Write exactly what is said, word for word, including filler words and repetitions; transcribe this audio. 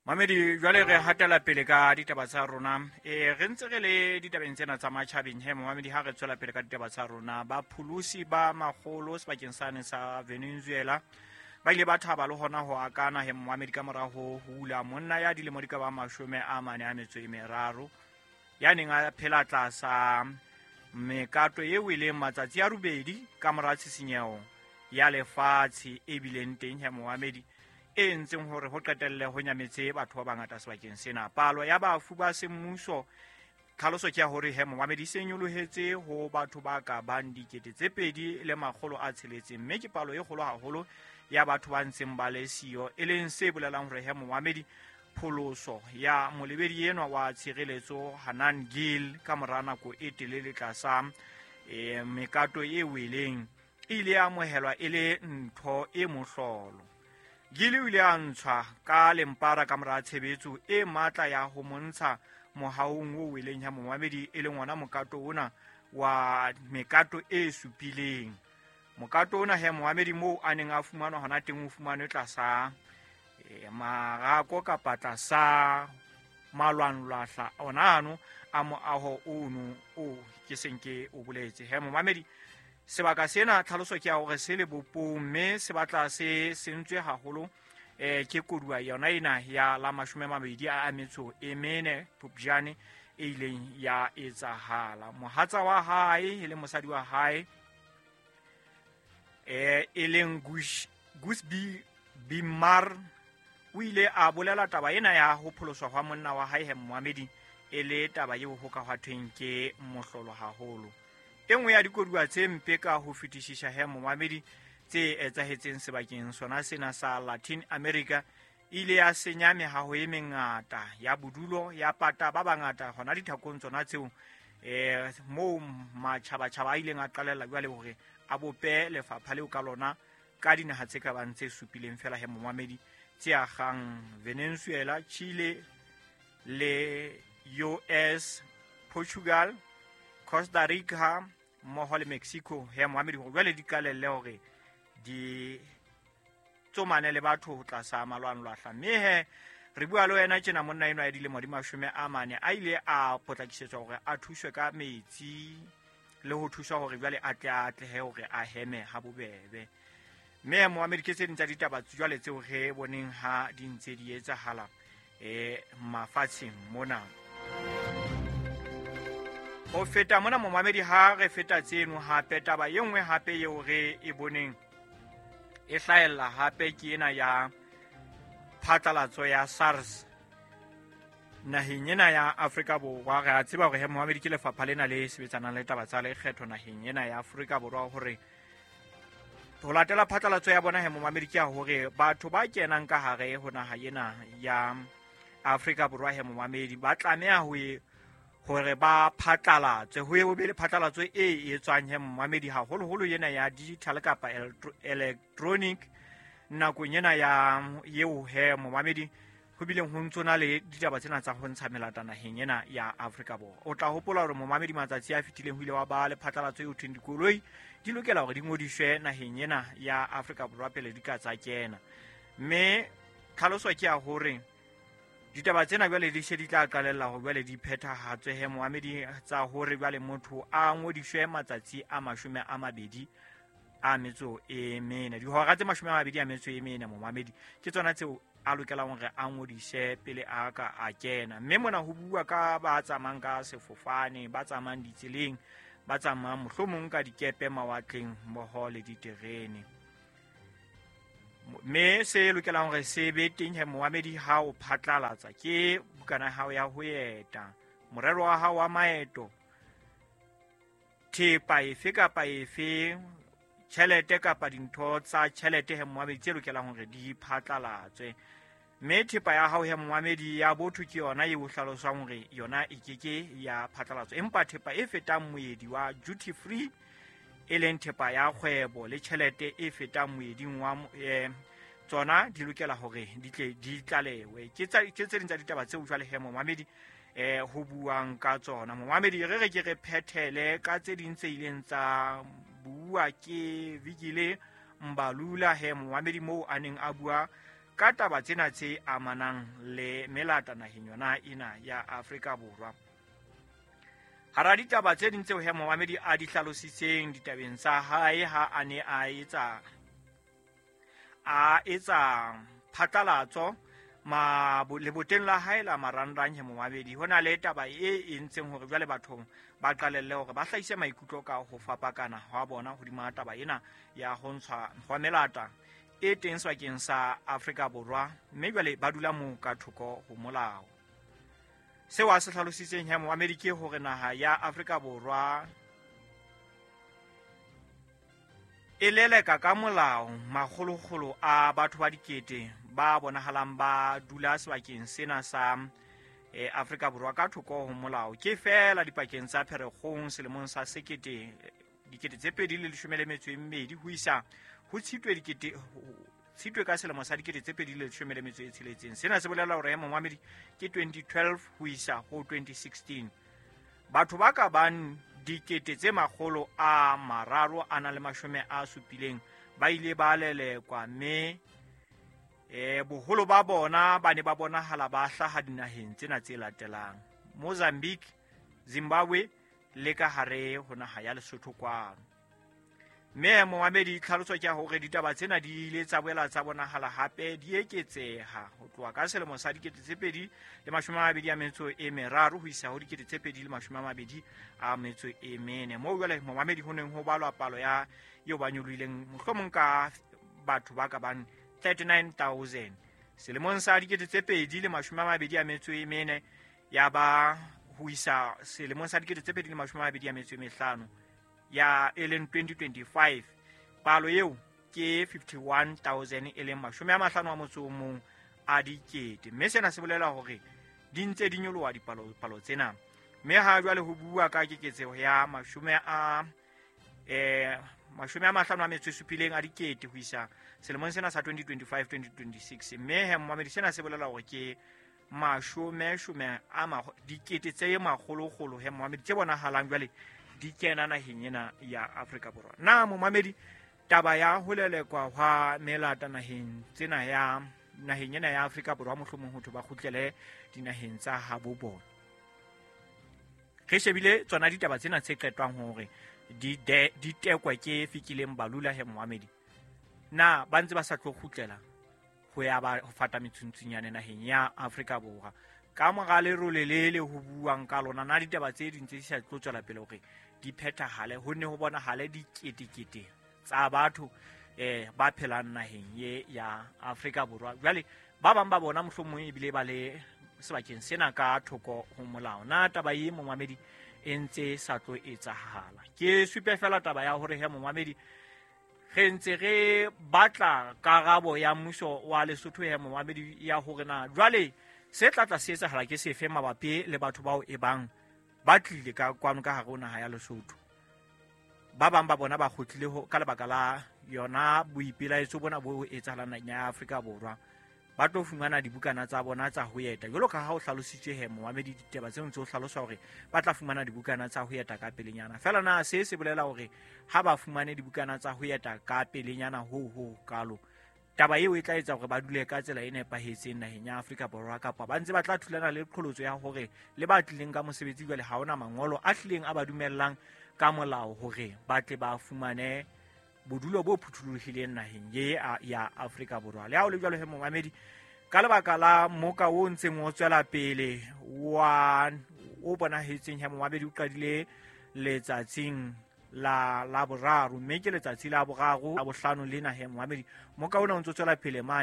Mamedi, jwale re hatela pele ka ditaba tsa rona. E re ntse re le ditabeng tsena tsa matjhabeng he momamedi, ha re tswela pele ka ditaba tsa rona, ba pholosi ba makgolo sebakeng sane sa Venezuela ba ile ba thaba le hona ho akana he momamedi ka mora ho hula monna ya dilemo di ka ba mashome a mane a metso e meraro ya neng a phela tlasa mekato eo e leng matsatsi a robedi ka mora tshisinyeho ya lefatshe e bileng teng he momamedi, e entseng hore ho qetelle ho nyametse batho ba bangata sebakeng sena. Palo ya bafu ba semmuso tlhaloso ke ya hore he momamedi se nyolohetse ho batho ba ka bang dikete tse pedi le makgolo a tsheletseng, mme ke palo e kgolo haholo ya batho ba ntseng ba le siyo, e leng se bolelang hore he momamedi pholoso ya molebedi enwa wa tshireletso Hanan Gil ka mora nako e telele tlasa e, mekato e weleng e ile ya amohelwa e le ntho e mohlolo. Gil o ile a ntshwa ka lempara ka mora tshebetso e matla ya ho montsha mohaong o weleng ya momamedi, e leng ona mokato ona wa mekato e supileng. Mokato ona he momamedi moo a neng a fumanwa hona teng o fumanwe tlasa e, marako kapa tlasa malwanlwahla ona ano a moaho ono o ke seng ke o boletse. He momamedi, sebaka sena tlhaloso ke ya hore se lebopong mme se batla se sentswe haholo eh ke koduwa yona ena ya la mashome a mabedi a metso e mene Phupjane e ileng ya etsahala. Mohatsa wa hae e le mosadi wa hae eh e leng Gusby Bimar o ile a bolela taba ena ya ho pholoswa hwa monna wa hae he momamedi e le taba eo ho ka hwathweng ke mohlolo haholo. E nngwe ya dikoduwa tse mpe ka ho fetisisa he momamedi tse etsahetseng sebakeng sona sena sa Latin America e ile ya senya mehaho e mengata ya bodulo ya pata ba bangata hona dithakong tsona tseo eh moo matjhabatjhaba a ileng a qalella jwale hore a bope lefapha leo ka lona ka dinaha tse ka bang tse supileng fela he momamedi tse agang Venezuela, Chile le U S, Portugal, Costa Rica mmoho le Mexico he momamedi hore jwale di qalelle hore di tsomane le batho ho tlasa malwanlwahla. Mme he re bua le wena tjena monna enwa ya dilemo di mashome a mane a ile a potlakisetswa hore a thuswe ka metsi le ho thuswa hore jwale a tle a atlehe hore a heme ha bobebe. Mme momamedi ke tse ding tsa ditaba jwale tseo re boneng ha di ntse di etsahala eh mafatsheng mona. Ho feta mona momamedi ha re feta tseno hape taba e nngwe hape eo re e boneng e hlahella hape ke ena ya phatlalatso ya SARS naheng ena ya Afrika Borwa. Re a tseba hore he momamedi ke lefapha lena le sebetsanang le taba tsa lekgetho naheng ena ya Afrika Borwa hore ho latela phatlalatso ya bona he momamedi ke ya hore batho ba kenang ka hare ho naha ena ya Afrika Borwa he momamedi ba tlameha ho hore ba phatlalatswe, ho eo be le phatlalatso e etswang he momamedi haholoholo ena ya digital kapa electronic nakong ena ya eo he momamedi ho bileng ho ntsona le ditaba tsena tsa ho ntsha melata naheng ena ya Afrika Borwa. O tla hopola hore momamedi matsatsi a fetileng ho ile wa ba le phatlalatso eo thweng dikoloi di lokela hore di ngodiswe naheng ena ya Afrika Borwa pele di ka tsa kena. Mme tlhaloso ke ya hore ditaba tsena jwale di se di tla qalella hore jwale di phethahatswe he momamedi tsa hore jwale motho a ngodiswe matsatsi a mashome a mabedi a metso e mene, dihora tse mashome a mabedi a metso e mene momamedi ke tsona tseo a lokelang hore a ngodise pele a ka a kena. Mme mona ho bua ka ba tsamayang ka sefofane, ba tsamayang ditseleng, ba tsamayang mohlomong ka dikepe mawatleng mmoho le diterene. Mme se lokelang hore se be teng he momamedi ha o phatlalatsa ke bukana ya hao ya ho eta, morero wa hao wa maeto, thepa efe kapa efe, tjhelete kapa dintho tsa tjhelete he momamedi tse lokelang hore di phatlalatswe. Mme thepa ya hao he momamedi ya botho ke yona eo hlaloswang hore yona e keke ya phatlalatswa, empa thepa e fetang moedi wa duty free e leng thepa ya kgwebo le tjhelete e fetang moeding wa eh, tsona di lokela hore di tle di tlalewe. Ke tsa ke tse ding tsa ditaba tseo jwale he momamedi eh ho buang ka tsona. Momamedi re re ke re phethele ka tse ding tse ileng tsa bua ke Vikile Mbalula he momamedi moo a neng a bua ka taba tsena tse amanang le melata naheng yona ena ya Afrika Borwa. Hara ditaba tse ding tseo he momamedi a di hlalositseng ditabeng tsa hae ha a ne a etsa a etsa phatlalatso ma leboteng la hae la marangrang he momamedi, ho na le taba e entseng hore jwale batho ba qalelle hore ba hlahise maikutlo ka ho fapakana hwa bona hodima taba ena ya ho ntshwa hwa melata e teng sebakeng sa Afrika Borwa, mme jwale ba dula moo ka thoko ho molao. Seo a se hlalositseng he momamedi ke hore naha ya Afrika Borwa e leleka ka molao makgolokgolo a batho ba dikete ba bonahalang ba dula sebakeng sena sa e Afrika Borwa ka thoko ho molao. Ke fela dipakeng tsa Pherekgong selemong sa sekete dikete tse pedi le leshome le metso e mmedi ho isa ho Tshitwe dikete Tshitwe ka selemo sa dikete tse pedi le leshome le metso e tsheletseng. Sena se bolela hore momamedi ke twenty twelve ho isa ho twenty sixteen. Batho ba ka bang dikete tse makgolo a mararo a na le mashome a supileng ba ile ba lelekwa, mme eh boholo ba bona ba ne ba bonahala ba hlaha dinaheng tsena tse latelang: Mozambique, Zimbabwe le ka hare ho naha ya Lesotho kwano. Mme momamedi tlhaloso ke hore ditaba tsena di ile tsa boela tsa bonahala hape di eketseha ho tloha ka selemo sa dikete tse pedi le mashome a mabedi a metso e meraro ho isa ho dikete tse pedi le mashome a mabedi a metso e mene, moo jwale momamedi ho neng ho balwa palo ya eo ba nyolohileng mohlomong ka batho ba ka bang thirty-nine thousand. Selemong sa dikete tse pedi le mashome a mabedi a metso e mene ya ba ho isa selemong sa dikete tse pedi le mashome a mabedi a metso e mehlano ya e leng twenty twenty-five, palo eo ke fifty-one thousand e leng mashome a mahlano a motso o mong a dikete. Mme sena se bolela hore di ntse di nyoloha dipalo palo tsena. Mme ha jwale ho bua ka keketseho ya mashome a eh mashome a mahlano a metso e supileng a dikete ho isa selemong sena sa twenty twenty-five twenty twenty-six. Mme he momamedi sena se bolela hore ke mashome shome a dikete tse makgolokgolo he momamedi tse bonahalang jwale di kena naheng ena ya Afrika Borwa. Na momamedi taba ya ho lelekwa hwa melata naheng tsena ya naheng ena ya Afrika Borwa mohlomong ho thwe ba kgutlele dinaheng tsa habo bona, re shebile tsona ditaba tsena tse qetwang hore di di tekwa ke Fikileng Balula he momamedi, na ba ntse ba sa tlo kgutlela ho ya ba ho fata metsuntsunyane naheng ya Afrika Borwa ka mora lerole le le ho buang ka lona? Na ditaba tse ding tse di sa tlo tswela pele hore di phethahale, ho ne ho bonahale diketekete tsa batho eh ba phelang naheng ye ya Afrika Borwa, jwale ba bang ba bona mohlomong ebile ba le sebakeng sena ka thoko ho molao. Na taba ye momamedi e ntse sa tlo etsahala? Ke supe fela taba ya hore he momamedi re ntse re batla karabo ya mmuso wa Lesotho he momamedi ya hore na jwale se tla tla se etsahala ke sefe mabapi le batho bao e bang ba tlile ka kwano ka hare ho naha ya Lesotho. Ba bang ba bona ba kgutlile ho ka lebaka la yona boipelaetso bona bo etsahalang naheng ya Afrika Borwa, ba tlo fumana dibukana tsa bona tsa ho eta jwalo ka ha o hlalositswe he momamedi ditaba tseo ntse o hlalosa hore ba tla fumana dibukana tsa ho eta ka pelenyana. Fela na se se bolela hore ha ba fumane dibukana tsa ho eta ka pelenyana ho ho kalo, taba eo e tla etsa hore ba dule ka tsela e nepahetseng naheng ya Afrika Borwa, kapa ba ntse ba tla thulana le qholotso ya hore le ba tlileng ka mosebetsi jwale ha ona mangolo a tlileng a ba dumellang ka molao hore ba tle ba fumane bodulo bo phuthulohileng naheng ye ya Afrika Borwa. Le ha o le jwalo he momamedi, ka lebaka la moka o ntseng o tswela pele wa o bonahetseng he momamedi o qadile letsatsing la la boraro, mme ke letsatsi la boraro la bohlano lena he momamedi, moka ona o ntse o tswela pele mane.